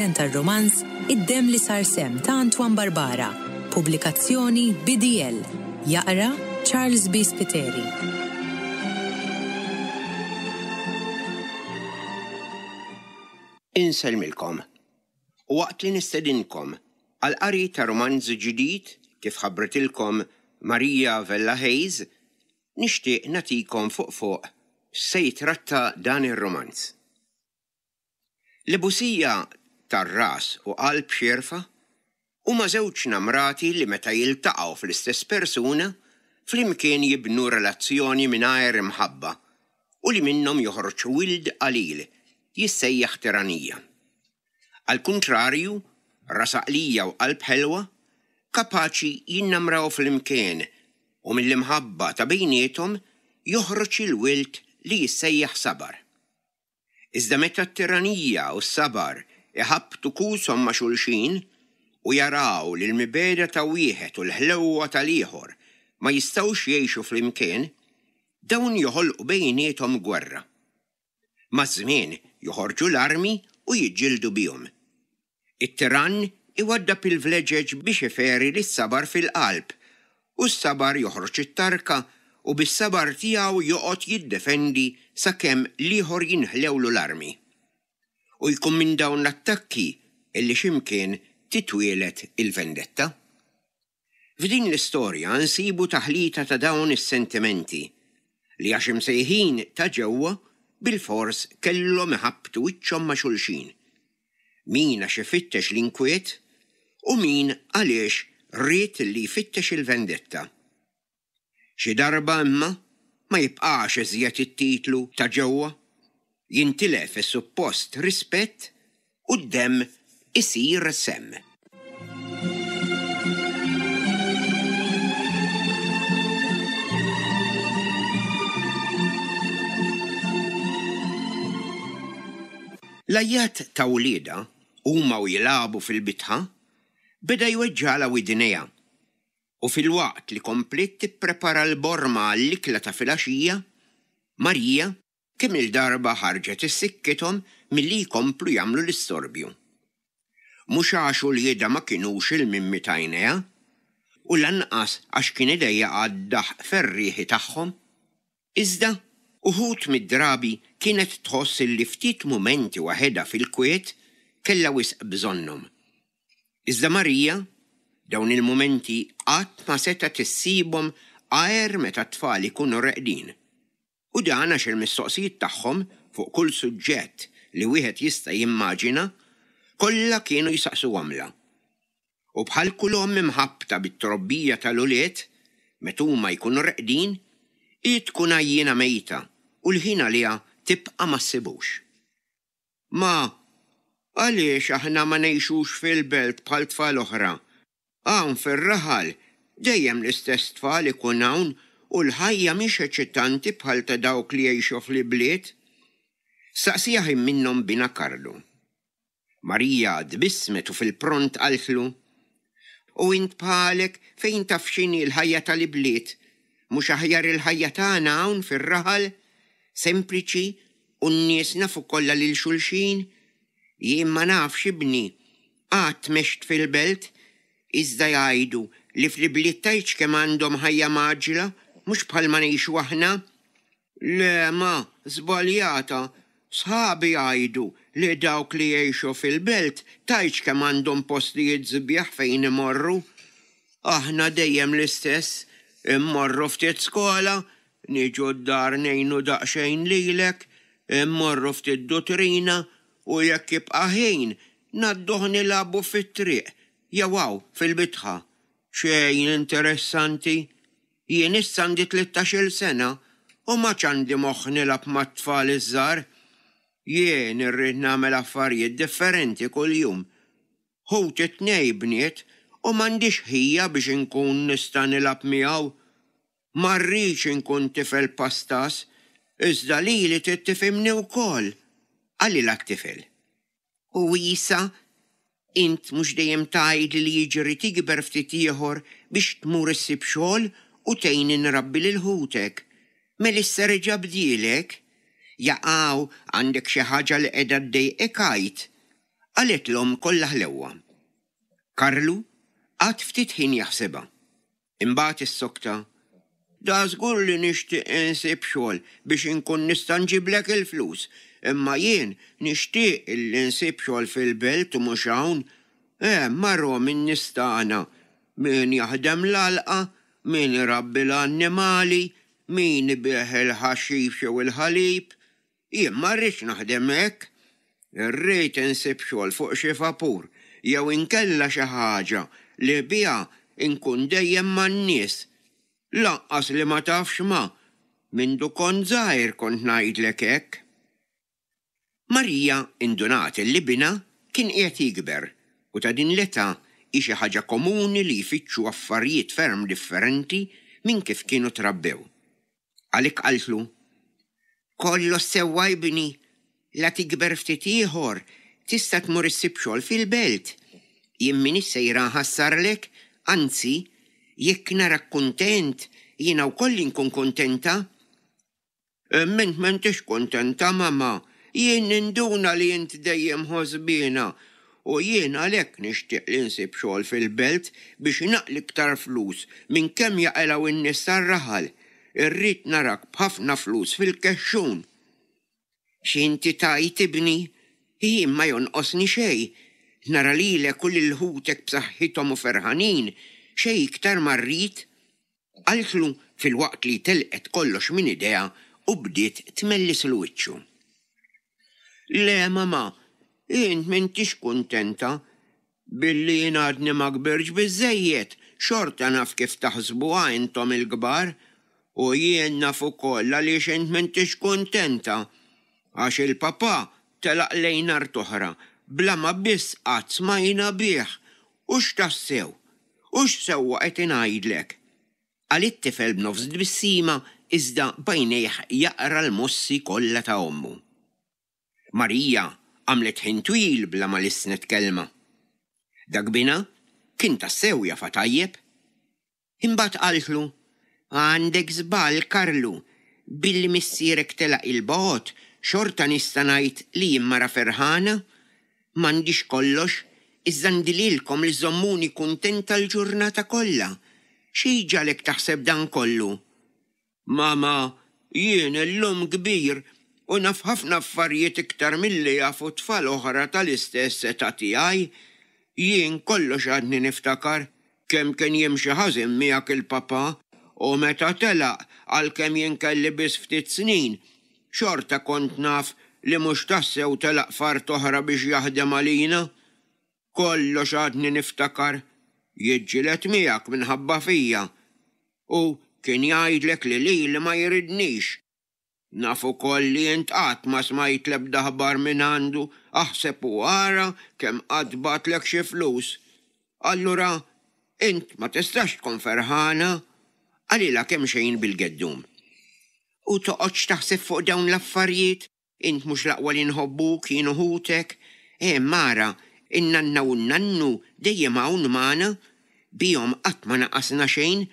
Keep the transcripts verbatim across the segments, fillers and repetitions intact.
Tar-romanz Id-Demm li Sar Semm ta' Antoine Barbara, pubblikazzjoni B D L. Jaqra Charles B. Spiteri. Insellmilkom. U waqt li nistedinkom għal qari ta' romanz ġdid kif ħabbritilkom Maria Vella Hayes, nixtieq nagħtikom fuq fuq se jitratta dan ir-romanz. L-ebusija tar-ras u qalb xierfa huma żewġ namrati li meta jiltaqgħu fl-istess persuna flimkien jibnu relazzjoni mingħajr imħabba u li minnhom joħroġ wild qalil jissejjaħ tiranija. Al kuntrarju, ras għaqlija u qalb ħelwa kapaċi jinnamraw flimkien u mill-imħabba ta' bejniethom joħroġ il-wild li jissejjaħ sabar. Iżda meta t-tiranija u s-sabar iħabbtu kushom ma' xulxin u jaraw li l-mibegħda ta' wieħed u l-ħlewwa tal-ieħor ma jistgħux jgħixu flimkien, dawn joħolqu bejniethom gwerra. Maż-żmien joħorġu l-armi u jiġġieldu bihom. It-tirann iwaddab il-vleġeġ biex iferi lis-sabar fil-qalb u s-sabar joħroġ it-tarka u bis-sabar tiegħu joqgħod jiddefendi sakemm l-ieħor jinħlewlu l-armi. U jkun minn dawn l-attakki illi x'imkien titwieled il-vendetta. F'din l-istorja nsibu taħlita ta' dawn is-sentimenti li għax imsejħin ta' ġewwa bil-fors kellhom iħabbtu wiċċhom ma' xulxin. Min għax ifittex l-inkwiet u min għaliex ried li jfittex il-vendetta. Xi darba imma ma jibqax iżjed it-titlu ta' ġewwa, jintilef is-suppost rispett u d-demm isir semm. L-għajjat ta' wliedha huma u jilagħbu fil-bitħa beda jweġġgħalha widnejha u filwaqt li kompliet tipprepara l-borma għall-ikla ta' filgħaxija, Marija kemm-il darba ħarġet issikkithom milli jkomplu jagħmlu l-istorbju. Mhux għax uliedha ma kinux il-mimmi t'għajnejha u lanqas għax kien idejjaqha d-daħq ferrieħi tagħhom. Iżda uħud mid-drabi kienet tħoss illi ftit mumenti waħedha fil-kwiet kellha wisq bżonnhom. Iżda Marija dawn il-mumenti qatt ma setgħet issibhom għajr meta t-tfal ikunu reqdin. U dan għax il-mistoqsijiet tagħhom fuq kull suġġett li wieħed jista' jimmaġina kollha kienu jsaqsuhomlha. U bħal kull omm imħabbta bit-trobbija tal-ulied, meta huma jkunu reqdin, hi tkun għajjiena mejta u l-ħin għaliha tibqa' ma ssibux. Ma, għaliex aħna ma ngħixux fil-belt bħal tfal oħra? Hawn fir-raħal dejjem l-istess tfal ikun hawn u l-ħajja mhix eċitanti bħal ta' dawk li jgħixu fl-ibliet. Staqsieha ħin minnhom binha Karlu. Marija tbissmet u fil-pront qaltlu, U int bħalek fejn taf x'inhi l-ħajja tal-ibliet? Mhux aħjar il-ħajja tagħna hawn fir-raħal? Sempliċi u n-nies nafu kollha lil xulxin? Jien ma nafx ibni, qatt m'għext fil-belt, iżda jgħidu li fl-ibliet tgħidx kemm għandhom ħajja mgħaġġla, mhux bħalma ngħixu aħna. Le ma, żbaljata, sħabi jgħidu li dawk li jgħixu fil-belt tgħidx kemm għandhom postijiet sbieħ fejn imorru. Aħna dejjem l-istess, immorru ftit skola, niġu d-dar ngħinu daqsxejn lilek, immorru ftit dutrina u jekk jibqa' ħin ngħadduh nilagħbu fit-triq jew hawn fil-bitħa. Xejn interessanti. Jien issa għandi tlettax-il sena u m'għadx għandi moħħ nilgħab mat-tfal iż-żgħar. Jien irrid nagħmel affarijiet differenti kuljum. Ħuti tnejn bniet u m'għandix ħija biex inkun nista' nilgħab miegħu. Ma rridx inkun tifel pastas, iżda lili trid tifhimni wkoll, qalilha t-tifel. U isa, int mhux dejjem tgħidli li jiġri tikber ftit ieħor biex tmur issib xogħol u tgħinni nrabbi lil ħutek. Mela issa reġa' bdielek? Jaqaw għandek xi ħaġa li qiegħda ddejqek għid. Qalet l-omm kollha ħlewwa. Karlu qagħad ftit ħin jaħsibha. Imbagħad issokta, Dażgur li nixtieq insib xogħol biex inkun nista' nġiblek il-flus, imma jien nixtieq illi nsib xogħol fil-belt u mhux hawn. Hemm arahom in-nies tagħna, min jaħdem l-għalqa, min irabbi l-annimali, min ibigħ il-ħaxix jew il-ħalib. Jien ma rridx naħdem hekk. Irrid insib xogħol fuq xi vapur jew inkella xi ħaġa li biha nkun dejjem man-nies. Lanqas li ma tafx ma, mindu kont żgħir kont ngħidlek hekk. Marija indunat li binha kien qiegħed jikber u ta' din l-età hi xi ħaġa komuni li jfittxu affarijiet ferm differenti minn kif kienu trabbew. Għalhekk qaltlu, Kollox sewwa ibni, la tikber ftit ieħor tista' tmur issib xogħol fil-belt. Jien m'iniex sejra nħassarlek, anzi, jekk narak kuntent, jiena wkoll inkun kuntenta. Imma int m'intix kuntenta, mama, jien ninduna li int dejjem ħosbiena u jien għalhekk nixtieq li nsib xogħol fil-belt biex naqla' iktar flus minn kemm jaqilgħu n-nies tar-raħal. Irrid narak b'ħafna flus fil-kexxun. X'inti tgħid ibni? Jien ma jonqosni xejn. Nara lilek u lil ħutek b'saħħithom u ferħanin, xejn iktar ma rrid. Qaltlu filwaqt li telqet kollox minn idejha u bdiet tmellislu wiċċu. Le, mama, int m'intix kuntenta billi jien għadni ma kbirtx biżżejjed, xorta naf kif taħsbuha intom il-kbar, u jien naf ukoll għaliex int m'intix kuntenta, għax il-papà telaq lejn art oħra bla ma biss qatt smajna bih, u x'tassew, u x'sewwa qed ingħidlek. Qal it-tifel b'nofs tbissima iżda b'għajnejh jaqra l-mossi kollha ta' ommu. Marija għamlet ħin twil bla ma lissnet kelma. Dak binha kien tassew jafha tajjeb. Imbagħad qaltlu, Għandek żball, Karlu, billi missierek telaq il-bogħod, xorta nista' ngħid li jien mara ferħana. M'għandix kollox, iżda għandi lilkom li żżommuni kuntenta l-ġurnata kollha. Xi jġagħlek taħseb dan kollu? Mama, jien illum kbir u naf ħafna affarijiet iktar milli jafu tfal oħra tal-istess età tiegħi. Jien kollox għadni niftakar kemm kien jimxi ħażin miegħek il-papà u meta telaq għalkemm jien kelli biss ftit snin, xorta kont naf li mhux tassew telaq f'art oħra biex jaħdem għalina. Kollox għadni niftakar, jiġġieled miegħek minħabba fija u kien jgħidlek li lili ma jridnix. Naf ukoll li int qatt ma smajt l-ebda aħbar minn għandu, aħseb u ara kemm qatt bagħatlek xi flus. Allura int ma tistax tkun ferħana, qalilha kemxejn bil-geddum. U toqgħodx taħseb fuq dawn l-affarijiet, int mhux l-aqwa li nħobbuk jien u ħutek. Hemm ara, in-nanna u n-nannu dejjem hawn magħna, bihom qatt ma naqasna xejn,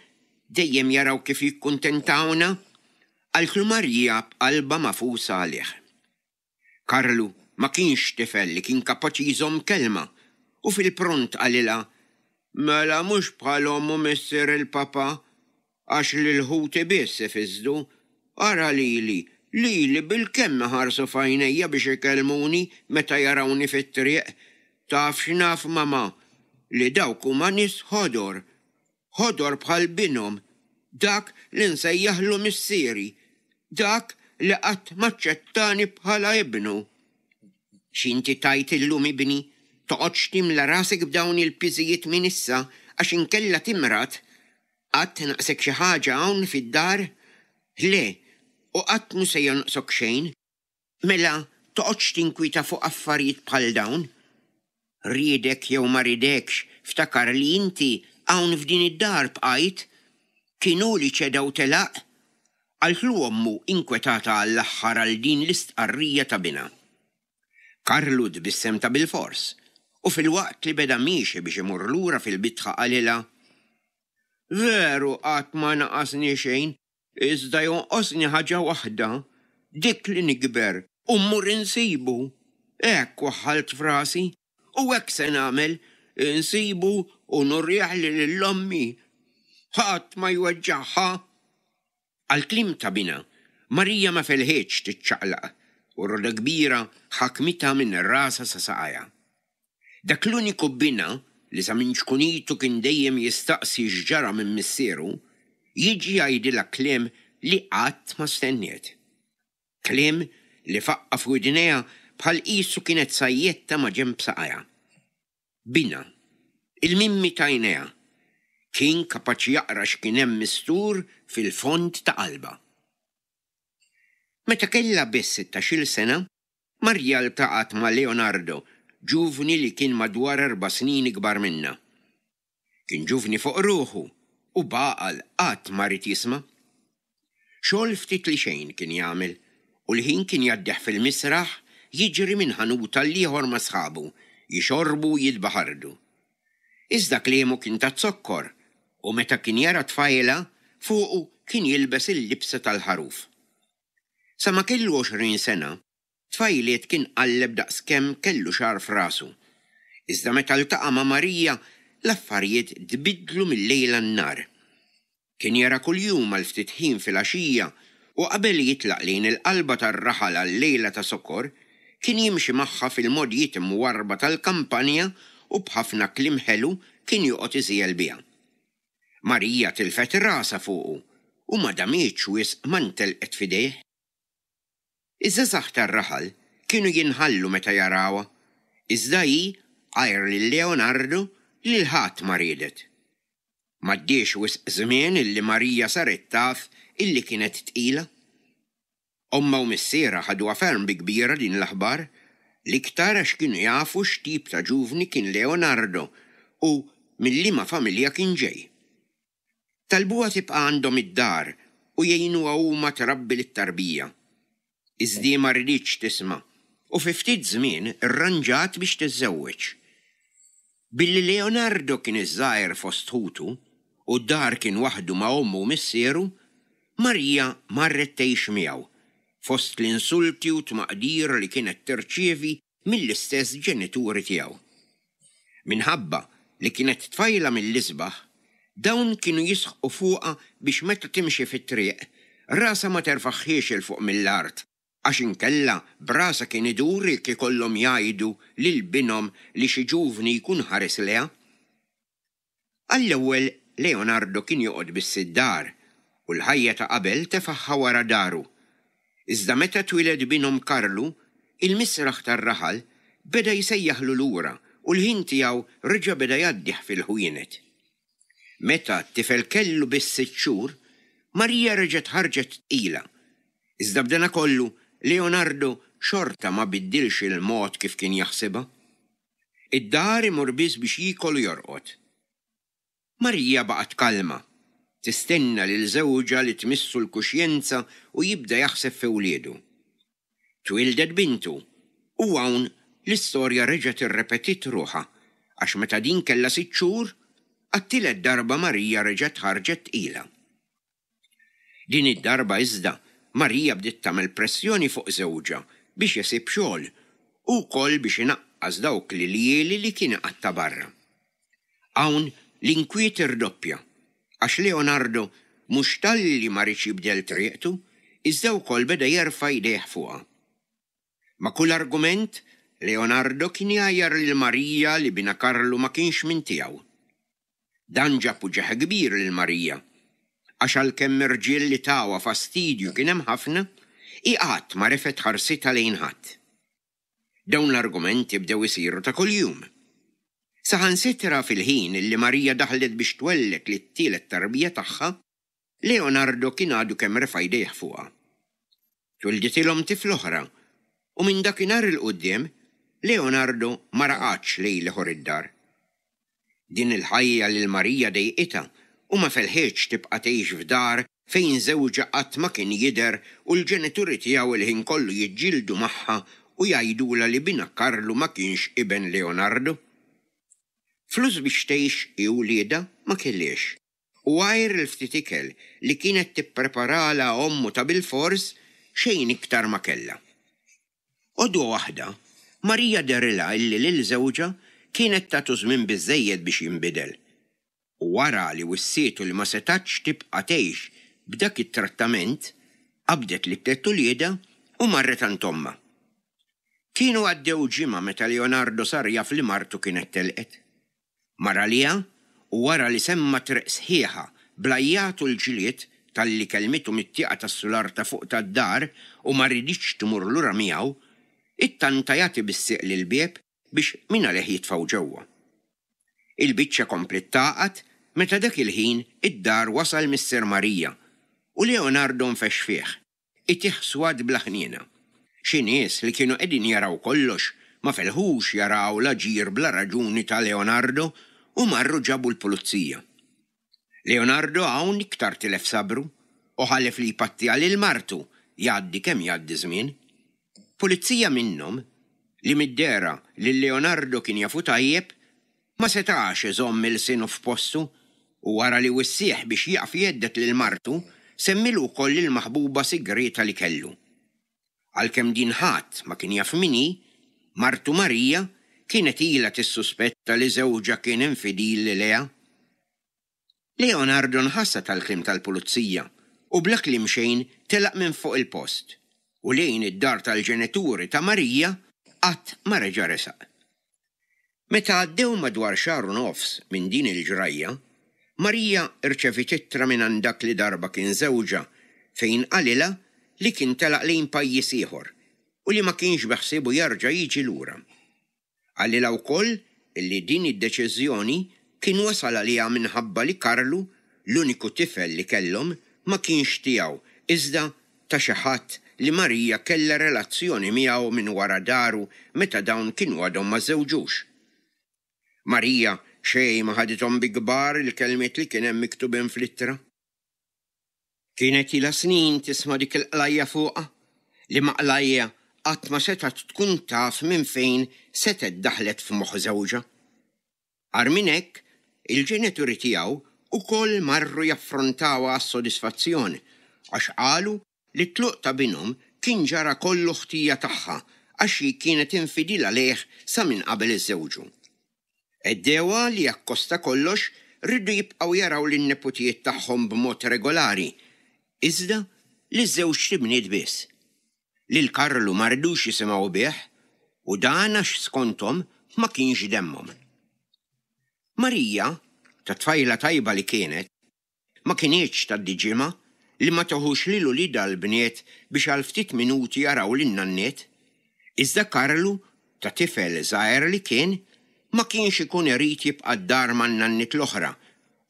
dejjem jaraw kif jikkuntentawna. Qaltlu Marija b'qalbha magħfusa għalih. Karlu ma kienx tifel li kien kapaċi jżomm kelma u fil-pront qalilha, Mela mhux bħal omm u missier il-papà, għax lil ħuti biss ifisdu. Ara lili, lili bilkemm iħarsu f'għajnejja biex ikellmuni meta jarawni fit-triq. Taf x'naf, mama, li dawk huma nies ħodor, ħodor bħal binhom, dak li nsejjaħlu missieri, dak li qatt m'aċċettani bħala ibnu. X'inti tgħid illum ibni, toqgħodx timla rasek b'dawn il-piżijiet minn issa għax inkella timrad. Qatt naqsek xi ħaġa hawn fid-dar? Le, u qatt mhu se jonqsok xejn. Mela toqgħodx tinkwieta fuq affarijiet bħal dawn. Riedek jew ma ridekx, ftakar li inti hawn f'din id-dar bqajt. Kien hu li ċeda u telaq? Qaltlu ommu inkwetata għall-aħħar għal din l-istqarrija ta' binha. Karlu tbissem ta' bilfors u filwaqt li beda miexi biex imur lura fil-bitħa qalilha, Veru qatt ma naqasni xejn, iżda jonqosni ħaġa waħda, dik li nikber u mmur insibu. Hekk waħħalt f'rasi U hekk se nagħmel, insibu u nurih lil ommi. Ħadd ma jweġġagħha. Għall-kliem ta' binha, Marija ma felħitx tiċċaqlaq u roda kbira ħakmitha minn rasha sa saqajha. Dak l-uniku binha li sa minn ċkunitu kien dejjem jistaqsi x'ġara minn missieru, jiġi jgħidilha kliem li qatt ma stenniet. Kliem li faqqa' f'widnejha bħal qisu kienet sajjetta ma' ġenb saqajha. Binha, il-mimmi t'għajnejha, kien kapaċi jaqra x'kien hemm mistur fil-fond ta' qalbha. Meta kellha biss sittax-il sena, Marija ltaqgħet ma' Leonardo, ġuvni li kien madwar erba' snin ikbar minnha. Kien ġuvni fuq ruħu u b'għaqal qatt ma ried jisma'. Xogħol ftit li xejn kien jagħmel u l-ħin kien jgħaddih fil-misraħ jiġri minn ħanut għal ieħor ma' sħabu, jixorbu u jitbaħardu. Iżda kliemu kien ta' zokkor u meta kien jara tfajla fuqu kien jilbes il-libsa tal-ħaruf. Sa ma kellu għoxrin sena, tfajliet kien qalleb daqskemm kellu xagħar f'rasu. Iżda meta ltaqa' ma' Marija, l-affarijiet tbiddlu mil-lejl għan-nhar. Kien jara kuljum għal ftit ħin filgħaxija u qabel jitlaq lejn il-qalba tar-raħal għal-lejla ta' sokor, kien jimxi magħha fil-mogħdijiet imwarrba tal-kampanja u b'ħafna kliem ħelu kien joqgħod iżiegħel biha. Marija tilfet rasha fuqu u ma damitx wisq ma ntelqet f'idejh. Iż-żgħażagħ tar-raħal kienu jinħallu meta jarawha, iżda hi, għajr lil Leonardo, lil ħadd ma riedet. M'għaddiex wisq żmien illi Marija saret taf illi kienet tqila. Ommha u missierha ħaduha ferm bi kbira din l-aħbar, l-iktar għax kienu jafu x'tip ta' ġuvni kien Leonardo u minn liema familja kien ġej. Talbuha tibqa' għandhom id-dar u jgħinuha huma trabbi lit-tarbija. Iżda hi ma riditx tisma' u fi ftit żmien irranġat biex tiżżewweġ. Billi Leonardo kien iż-żgħir fost ħutu u d-dar kien waħdu ma' ommu u missieru, Marija marret tgħix miegħu fost l-insulti u tmaqdir li kienet tirċievi mill-istess ġenituri tiegħu. Minħabba li kienet tfajla mill-isbaħ, dawn kienu jisħqu fuqha biex meta timxi fit-triq, rasha ma terfaħħiex 'il fuq mill-art, għax inkella b'rasha kien idur jekk ikollhom jgħidu lil binhom li xi ġuvni jkun ħares lejha. Għall-ewwel Leonardo kien joqgħod biss id-dar u l-ħajja ta' qabel tefagħha wara daru. Iżda meta twieled binhom Karlu, il-misraħ tar-raħal beda jsejjaħlu lura u l-ħin tiegħu reġa' beda jgħaddih fil-ħwienet. Meta t-tifel kellu biss sitt xhur, Marija reġgħet ħarġet tqila. Iżda b'dana kollu, Leonardo xorta ma biddilx il-mod kif kien jaħsibha. Id-dar imur biss biex jiekol u jorqod. Marija baqgħet kalma, tistenna lil żewġha li tmissu l-kuxjenza u jibda jaħseb fi wliedu. Twieldet bintu u hawn l-istorja reġgħet irrepetiet ruħha għax meta din kellha sitt xhur, għat-tielet darba Marija reġgħet ħarġet tqila. Din id-darba iżda Marija bdiet tagħmel pressjoni fuq żewġha biex isib xogħol u wkoll biex inaqqas dawk l-iljieli li kien iqatta' barra. Hawn l-inkwiet irdoppja għax Leonardo mhux talli ma riedx jibdel triqtu, iżda wkoll beda jerfa' jdejh fuqha. Ma' kull argument, Leonardo kien jgħajjar lil Marija li binha Karlu ma kienx minn tiegħu. Dan ġab uġigħ kbir lil Marija, għax għalkemm irġiel li tawha fastidju kien hemm ħafna, hi qatt ma refgħet ħarsitha lejn ħadd. Dawn l-argumenti bdew isiru ta' kuljum. Saħansitra fil-ħin illi Marija daħlet biex twelled lit-tielet tarbija tagħha, Leonardo kien għadu kemm refa' jdejh fuqha. Twilditilhom tifla oħra u minn dakinhar 'il quddiem Leonardo ma raqadx lejl ieħor id-dar. Din il-ħajja lil Marija dejqitha u ma felħitx tibqa' tgħix f'dar fejn żewġha qatt ma kien jidher u l-ġenituri tiegħu l-ħin kollu jiġġieldu magħha u jgħidulha li binha Karlu ma kienx iben Leonardo. Flus biex tgħix hi u wliedha ma kellhiex u għajr il-ftit ikel li kienet tippreparalha ommu ta' bilfors xejn iktar ma kellha. Għodwa waħda, Marija dehrilha illi lil żewġha kienet tatu żmien biżżejjed biex jinbidel. U wara li wissietu li ma setgħetx tibqa' tgħix b'dak it-trattament, qabdet lit-tliet uliedha u marret għand ommha. Kienu għaddew ġimgħa meta Leonardo sar jaf li martu kienet telqet. Mar għaliha u wara li semma' triq sħiħa bl-għajjat u l-ġlied talli kellmitu mit-tieqa tas-sular ta' fuq tad-dar u ma riditx tmur lura miegħu, ittanta jagħti bis-sieq lill-bieb biex mingħalih jitfgħu ġewwa. Il-biċċa kompliet tagħqad meta dak il-ħin id-dar wasal missier Marija u Leonardo nfexx fih, itih swat bla ħniena. Xi nies li kienu qegħdin jaraw kollox ma felħux jaraw l-aġir bla raġuni ta' Leonardo u marru ġabu l-pulizija. Leonardo hawn iktar tilef sabru u ħalef li jpattiha lil martu jgħaddi kemm jgħaddi żmien. Pulizija minnhom, li mid-dehra lil Leonardo kien jafu tajjeb, ma setax iżomm ilsienu f'postu u wara li wissieh biex jieqaf jhedded lil martu, semmilu wkoll il-maħbuba sigrieta li kellu. Għalkemm din ħadd ma kien jaf min hi, martu Marija kienet ilha tissuspetta li żewġha kien infidil lejha. Leonardo nħasad għall-kliem tal-pulizija u bla kliem xejn telaq minn fuq il-post u lejn id-dar tal-ġenituri ta' Marija qatt ma reġa' resaq. Meta għaddew madwar xahar u nofs minn din il-ġrajja, Marija rċeviet ittra mingħand dak li darba kien żewġha fejn qalilha li kien telaq lejn pajjiż ieħor u li ma kienx beħsiebu jerġa' jiġi lura. Qalilha wkoll li din id-deċiżjoni kien wasal għaliha minħabba li Karlu, l-uniku tifel li kellhom, ma kienx tiegħu iżda ta' xi ħadd li Marija kellha relazzjoni miegħu minn wara daru meta dawn kienu għadhom ma żżewġux. Marija xejn ma ħadithom bi kbar il-kelmiet li kien hemm miktubin fl-ittra. Kienet ilha snin tisma' dik il-qlajja fuqha, liema qlajja qatt ma setgħet tkun taf minn fejn setgħet daħlet f'moħħ żewġha. Agħar minn hekk, il-ġenituri tiegħu wkoll marru jaffrontawha għas-sodisfazzjon għax qalu li t-tluq ta' binhom kien ġara kollu ħtija tagħha għax hi kienet infidila lejh sa minn qabel iżżewġu. Għeddewha li akkost ta' kollox riedu jibqgħu jaraw lin-neputijiet tagħhom b'mod regolari, iżda liż-żewġt ibniet biss. Lil Karlu ma ridux jisimgħu bih u dan għax skonthom ma kienx demmhom. Marija, ta' tfajla tajba li kienet, ma kinitx tgħaddi ġimgħa li ma tieħux lil uliedha l-bniet biex għal ftit minuti jaraw lin-nanniet. Iżda Karlu, ta' tifel żgħir li kien, ma kienx ikun irid jibqa' d-dar man-nanniet l-oħra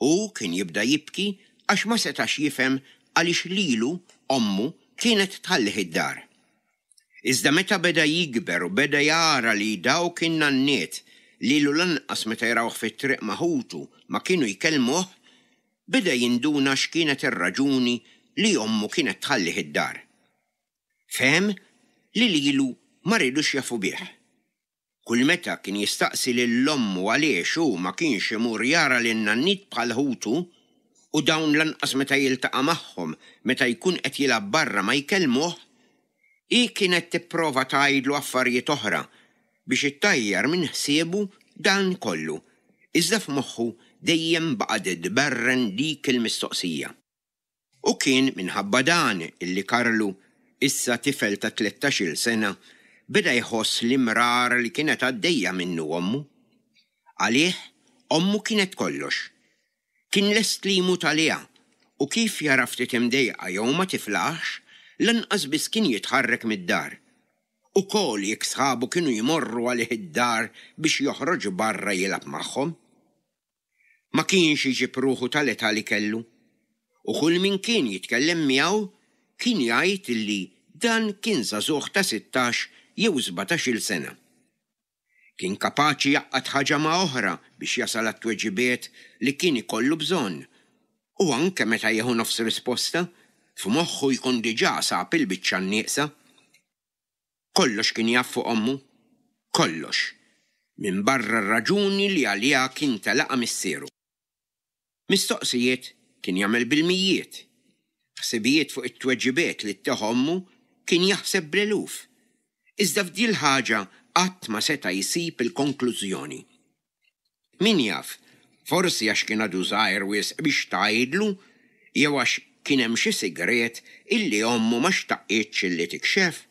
u kien jibda jibki għax ma setax jifhem għaliex lilu ommu kienet tħallih id-dar. Iżda meta beda jikber u beda jara li dawk in-nanniet lilu lanqas meta jarawh fit-triq ma' ħutu ma kienu jkellmuh, beda jinduna x'kienet ir-raġuni li ommu kienet tħallih id-dar. Fehem li lilu ma ridux jafu bih. Kull meta kien jistaqsi lil ommu għaliex hu ma kienx imur jara lin-nanniet bħal ħutu, u dawn lanqas meta jiltaqa' magħhom meta jkun qed jilgħab barra ma jkellmuh, hi kienet tipprova tgħidlu affarijiet oħra biex ittajjar minn ħsiebu dan kollu, iżda f'moħħu dejjem baqgħet tberren dik il-mistoqsija. U kien minħabba dan illi Karlu, issa tifel ta' tlettax-il sena, beda jħoss l-imrar li kienet għaddejja minnu ommu. Għalih, ommu kienet kollox. Kien lest li jmut għaliha u kif jara ftit imdejqa jew ma tiflaħx, lanqas biss kien jitħarrek mid-dar. Ukoll jekk sħabu kienu jmorru għalih id-dar biex joħroġ barra jilgħab magħhom. Ma kienx iġib ruħu tal-età li kellu. U kull min kien jitkellem miegħu kien jgħid illi dan kien żagħżugħ ta' sittax jew sbatax-il sena. Kien kapaċi jgħaqqad ħaġa ma' oħra biex jasal għat-tweġibiet li kien ikollu bżonn. U anke meta jieħu nofs risposta, f'moħħu jkun diġà sab il-biċċa n-nieqsa. Kollox kien jaf fuq ommu. Kollox. Minbarra r-raġuni li għaliha kien telaqha missieru. Mistoqsijiet kien jagħmel bil-mijiet. Ħsibijiet fuq it-tweġibiet li ttih ommu kien jaħseb bl-eluf. Iżda f'dil ħaġa qatt ma seta' jsib il-konklużjoni. Min jaf, forsi għax kien għadu żgħir wisq biex tgħidlu jew għax kien hemm xi sigriet illi ommu ma xtaqitx illi tikxef.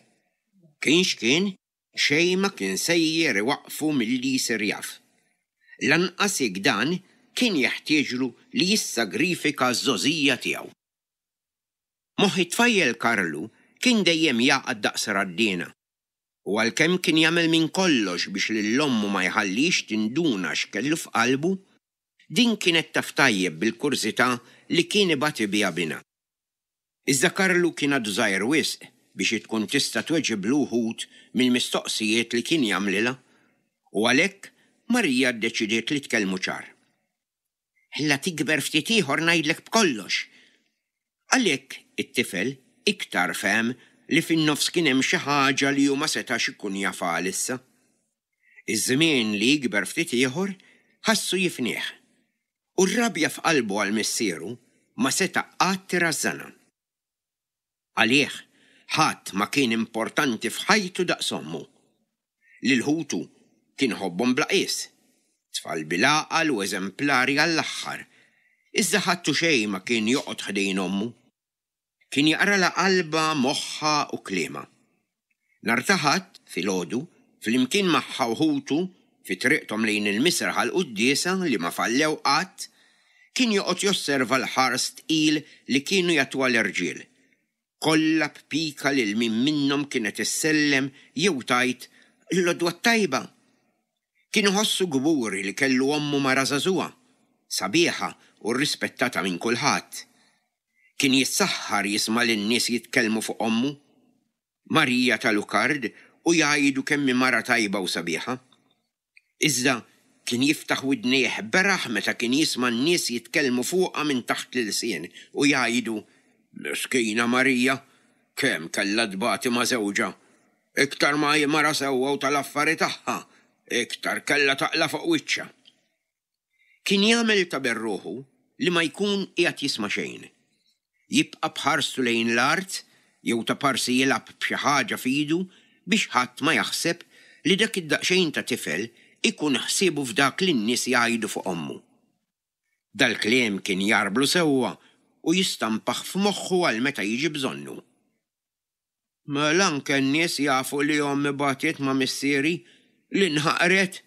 Kien x'kien, xejn ma kien sejjer iwaqqfu milli jsir jaf. Lanqas jekk dan kien jeħtieġlu li jissagrifika ż-żgħożija tiegħu. Moħħ it-tfajjel Karlu kien dejjem jagħqad daqs raddiena. U għalkemm kien jagħmel minn kollox biex lil ommu ma jħallix tinduna x'kellu f'qalbu, din kienet taf tajjeb bil-kurżità li kien ibati biha binha. Iżda Karlu kien għadu żgħir wisq biex tkun tista' tweġiblu wħud mill-mistoqsijiet li kien jagħmlilha, u għalhekk Marija ddeċidiet li tkellmu ċar. Ħla tikber ftit ieħor ngħidlek b'kollox. Għalhekk it-tifel iktar fehem li fin-nofs kien hemm xi ħaġa li hu ma setax ikun jafha għalissa. Iż-żmien li jikber ftit ieħor ħassu jifnih, u r-rabja f'qalbu għal missieru ma seta' qatt irażżanha. Għalih ħadd ma kien importanti f'ħajtu daqs ommu. Lil ħutu kien ħobbhom bla qies, tfal bil-għaqal u eżemplari għall-aħħar, iżda ħadd u xejn ma kien joqgħod ħdejn ommu. Kien jaqralha qalbha, moħħha u kliemha. Nhar ta' Ħadd, filgħodu, flimkien magħha u ħutu, fi triqthom lejn il-misraħ għall-quddiesa li ma fallew qatt, kien joqgħod josserva l-ħars tqil li kienu jagħtuha l-irġiel, kollha b'pika lil min minnhom kienet issellem jew tgħid l-għodwa t-tajba. Kien iħossu kburi li kellu ommu mara żagħżugħa, sabiħa u rrispettata minn kulħadd. Kien jissaħħar jisma' lin-nies jitkellmu fuq ommu, Marija ta' Lukard, u jgħidu kemm hi mara tajba u sabiħa. Iżda kien jiftaħ widnejh beraħ meta kien jisma' n-nies jitkellmu fuqha minn taħt l-ilsien u jgħidu, Miskina Marija, kemm kellha tbati ma' żewġha. Iktar ma hi mara sewwa u tal-affari tagħha, iktar kellha taqla' fuq wiċċha. Kien jagħmel ta' berruħu li ma jkun qiegħed jisma' xejn. Jibqa' b'ħarstu lejn l-art jew ta' parsi jilgħab b'xi ħaġa f'idu biex ħadd ma jaħseb li dak id-daqsxejn ta' tifel ikun ħsiebu f'dak li n-nies jgħidu fuq ommu. Dal-kliem kien jarblu sewwa u jistampaħ f'moħħu għal meta jiġi bżonnu. Mela anke n-nies jafu li ommi batiet ma' missieri li nħaqret.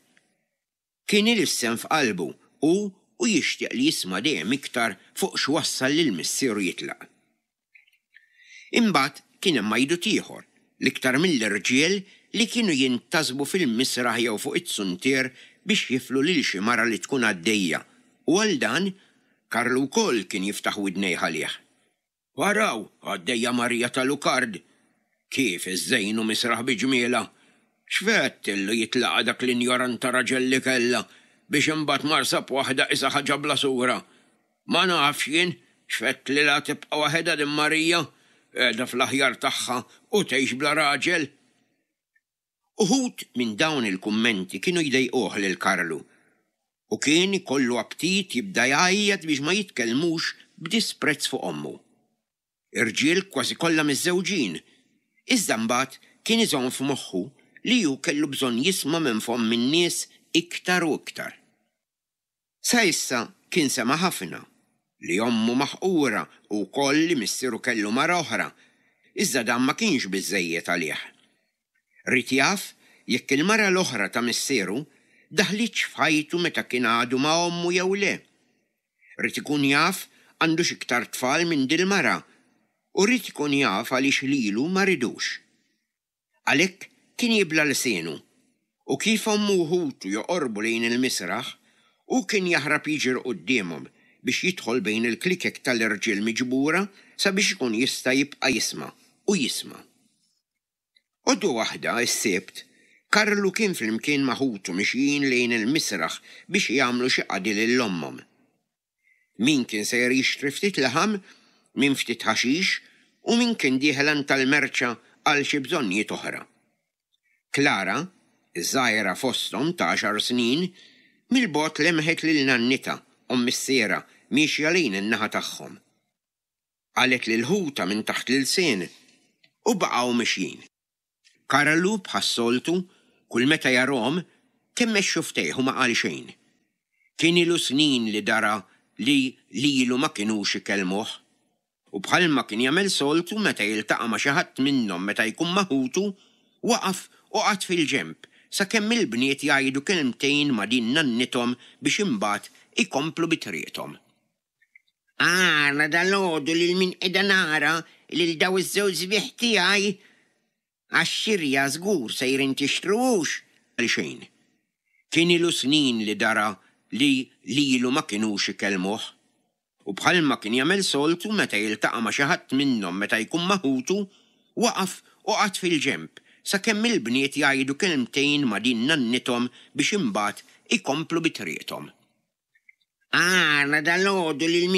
Kien ilissen f'qalbu u u jixtieq li jisma' dejjem iktar fuq x'wassal lil missieru jitlaq. Imbagħad kien hemm għajdut ieħor, l-iktar mill-irġiel li kienu jintasbu fil-misraħ jew fuq it-suntier biex jiflu lil xi mara li tkun għaddejja, u għal dan Karlu wkoll kien jiftaħ widnejh għalih. Araw, għaddejja Marija ta' Lukard! Kif iżżejnu misraħ bi ġmielha! X'fettillu jitlaqa' dak l-injorant ta' raġel li kellha biex imbagħad mar sab waħda qisha ħaġa bla sura. Ma nafx jien x'fettlilha tibqa' waħedha din Marija, qiegħda fl-aħjar tagħha u tgħix bla raġel. Uħud minn dawn il-kummenti kienu jdejquh lil Karlu u kien ikollu aptit jibda jgħajjat biex ma jitkellmux b'disprezz fuq ommu. Irġiel kważi kollha miżżewġin, iżda mbagħad kien iżomm f'moħħu li hu kellu bżonn jisma' minn fomm in-nies iktar u iktar. Sa issa kien sema' ħafna, li ommu maħqura u wkoll li missieru kellu mara oħra, iżda dan ma kienx biżżejjed għalih. Ried jaf jekk il-mara l-oħra ta' missieru daħlitx f'ħajtu meta kien għadu ma' ommu jew le. Ried ikun jaf għandux iktar tfal minn dil-mara u ried ikun jaf għaliex lilu ma ridux. Għalhekk kien jibla' lsienu u kif ommu u ħutu joqorbu lejn il-misraħ, hu kien jaħrab jiġri quddiemhom biex jidħol bejn il-klikek tal-irġiel miġbura sabiex ikun jista' jibqa' jisma' u jisma'. Għodwa waħda, is-Sibt, Karlu kien flimkien ma' ħutu mixjin lejn il-misraħ biex jagħmlu xi qadi lil ommhom. Min kien sejjer jixtri ftit laħam, min ftit ħaxix u min kien dieħel għand tal-merċa għal xi bżonnijiet oħra. Klara, iż-żgħira fosthom ta' għaxar snin, mill-bogħod lemħet lil nannitha, omm missierha, miexja lejn in-naħa tagħhom. Qalet lil ħutha minn taħt l-ilsien u baqgħu mixjin. Karlu, bħas-soltu, kull meta jarahom, kemmex xufftejh u ma qal xejn. Kien ilu snin li dara li lilu ma kinux ikellmuh. U bħalma kien jagħmel soltu meta jiltaqa' ma' xi ħadd minnhom meta jkun ma' ħutu, waqaf u qagħad fil-ġenb sakemm il-bniet jgħidu kelmtejn ma' din nannithom biex imbagħad ikomplu bi triqthom. Ara dalgħodu lil min qiegħda nara lil daw iż-żewġ sbieħ tiegħi. Għax-xirja żgur sejrin tixtru hux. Għal xejn. Kien ilu snin li dara li lilu ma kinux ikellmuh. U bħalma kien jagħmel soltu meta jiltaqa' ma' xi ħadd minnhom meta jkun ma' ħutu, waqaf u qagħad fil-ġenb sakemm il-bniet jgħidu kelmtejn ma' din nannithom biex imbagħad ikomplu bi triqthom. Ara dalgħodu lil min